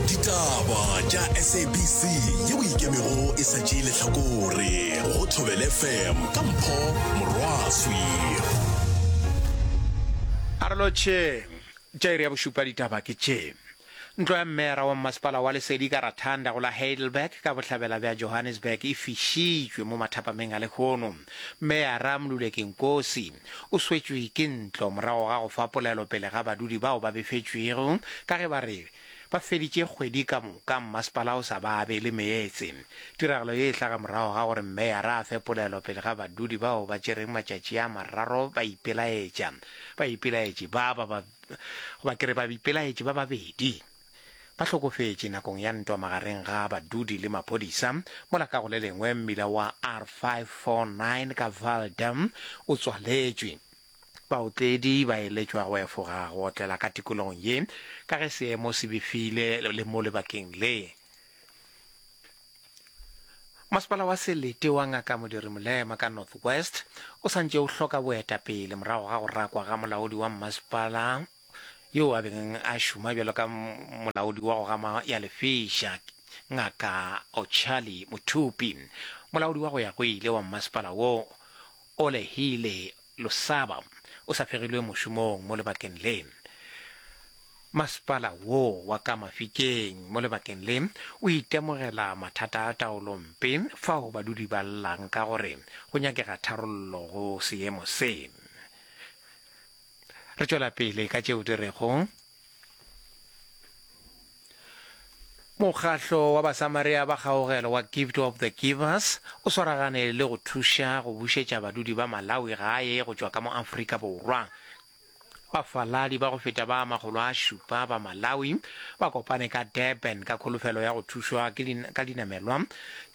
Ditaba tša SABC yeo e ikemego e sa tšee lehlakore go Thobela FM ka Mpho Morwaswi. A re lotšheng. Tša iri ya bošupa ditaba ke tše. Ntlo ya mmeyara wa mmasepala wa Lesedi ka Rathanda go la Heidelberg ka bohlabela bja Johannesburg e fišitšwe mo mathapameng a lehono. Mmeyara Mluleki Nkosi o swetšwe ke ntlo morago ga go fa polelo pele ga badudi bao ba befetšwego ka ge ba re ba feditše kgwedi ka moka mmasepala o sa ba abele meetse. Tiragalo ye e hlaga morago ga gore mmeyara a fe polelo pele ga badudi bao ba tšereng matšatši a mararo ba ipelaetša. Baipelaetši ba ba ba goba ke re baipelaetši ba babedi ba hlokofetše nakong ya ntwa magareng ga badudi le maphodisa, mola ka go le lengwe mmila wa R549 ka Vaal Dam o tswaletšwe. Baotledi ba eletšwa go efoga go otlela ka tikologong ye ka ge seemo se befile le mo lebakeng le. Masepala wa Selete wa Ngaka Modiri Molema ka North West o sa ntše o hloka boetapele morago ga go rakwa ga molaodi wa mmasepala yo a beng a šoma bjalo ka molaodi wa go gama ya lefeša, Ngaka Ochali Mothupi. Molaodi wa go ya go ile wa mmasepala wo, Olehile Losaba, o sa fegilwe mošomong mo lebakeng le. Masepala wo wa ka Mafikeng mo lebakeng le o itemogela mathata a taolompe fao badudi ba llang ka gore go nyakega tharollo go seemo se. Re tšwela pele ka tšeo di rego. Mokgahlo wa Basamaria ba Kgaogelo wa Gift of the Givers o swaragane le go thuša go bušetša badudi ba Malawi gae go tšwa ka mo Afrika Borwa. Bafaladi ba go feta ba 700 ba Malawi ba kopane ka Durban ka kholofelo ya go thušwa ke ka dinamelwa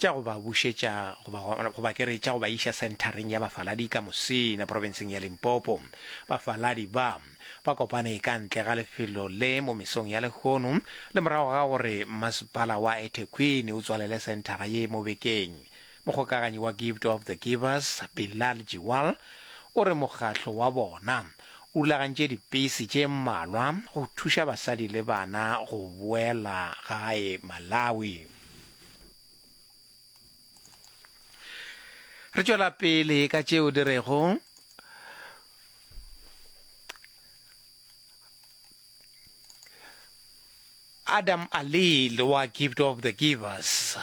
tša go ba bušetša goba goba ke re tša go ba iša senthareng ya bafaladi ka Musina profenseng ya Limpopo. Bafaladi ba ba kopane ka ntle ga lefelo le mo mesong ya lehono le morago ga gore masepala wa eThekwini o tswalele senthara ye mo bekeng. Mokgokaganyi wa Gift of the Givers, Bilal Jiwal, o re mokgatlo wa bona o rulagantše dipese tše mmalwa go thuša basadi le bana go boela gae Malawi. Re tšwela pele ka tšeo di rego Adam Alil wa Gift of the Givers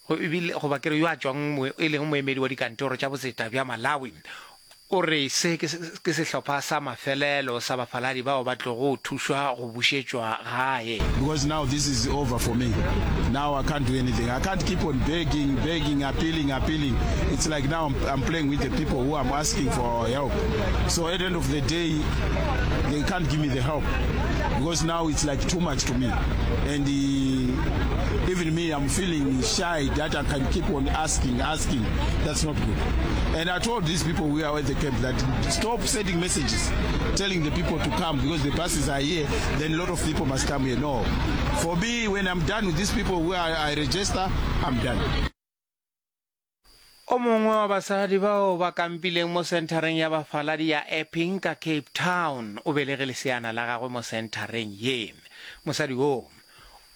go ebile goba ke re yo a tšwang e leng moemedi wa dikantoro tša botseta bja Malawi o re se ke sehlopha sa mafelelo sa bafaladi bao ba tlogo thušwa go bušetšwa gae. Because now this is over for me. Now I can't do anything. I can't keep on begging, begging, appealing, appealing. It's like now I'm, I'm playing with the people who I'm asking for help. So at the end of the day, they can't give me the help because now it's like too much to me. And uh, even me, I'm feeling shy that I can keep on asking, asking. That's not good. And I told these people who are at the camp that stop sending messages telling the people to come because the buses are here, then a lot of people must come here. No. For me, when I'm done with these people who I, I register, I'm done. O mongwe wa basadi bao ba kampileng mo senthareng ya bafaladi ya Epping ka Cape Town o belege leseana la gagwe mo senthareng ye. Mosadi wo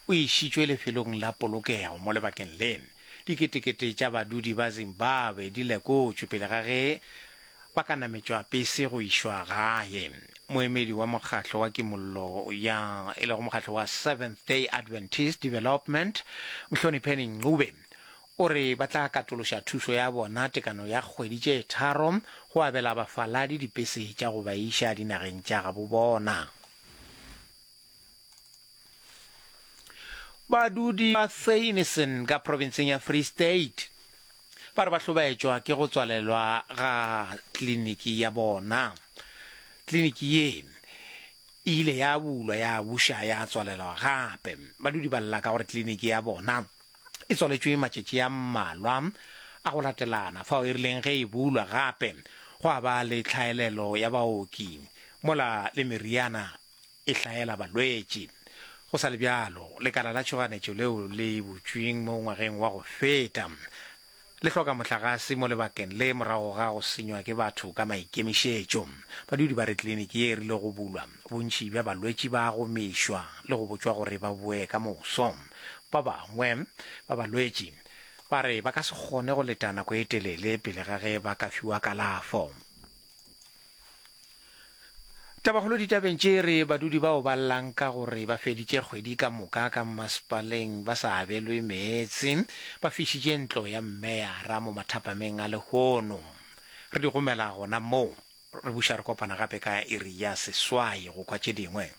o išitšwe lefelong la polokego mo lebakeng le. Diketekete tša badudi ba Zimbabwe di lekotšwe pele ga ge ba ka nametšwa pese go išwa gae. Moemedi wa mokgatlo wa kimollo ya e lego mokgatlo wa Seventh Day Adventist Development, Mhlonipheni Ncube, o re ba tla katološa thušo ya bona tekano ya kgwedi tše tharo go abela bafaladi dipese tša go ba iša dinageng tša gabo bona. Badudi ba Theunissen ka profenseng ya Free State ba re ba hlobaetšwa ke go tswalelwa ga kliniki ya bona. Kliniki ye e ile ya bulwa ya buša ya tswalelwa gape. Badudi ba lla ka gore kliniki ya bona e tswaletšwe matšatši a mmalwa a go latelana fao e rileng ge e bulwa gape gwa ba le tlhaelelo ya baoki mola le meriana e hlaela balwetši. Go sa le bjalo, lekala la tšhoganetšo leo le butšweng mo ngwageng wa go feta. Le hloka mohlagase mo lebakeng le morago ga go senywa ke batho ka maikemišetšo. Badudi ba re kliniki ye e rile go bulwa, bontši bja balwetši ba gomišwa le go botšwa gore ba boe ka moso. Ba bangwe ba balwetši ba re ba ka se kgone go leta nako e telele pele ga ge ba ka fiwa kalafo. Tabakgolo ditabeng tše e re badudi bao ba llang ka gore ba feditše kgwedi ka moka ka mmasepaleng ba sa abelwe meetse ba fišitše ntlo ya mmeyara mo mathapameng a lehono. Re di gomela gona moo. Re buša re kopana gape ka iri ya seswai go kwa tše dingwe.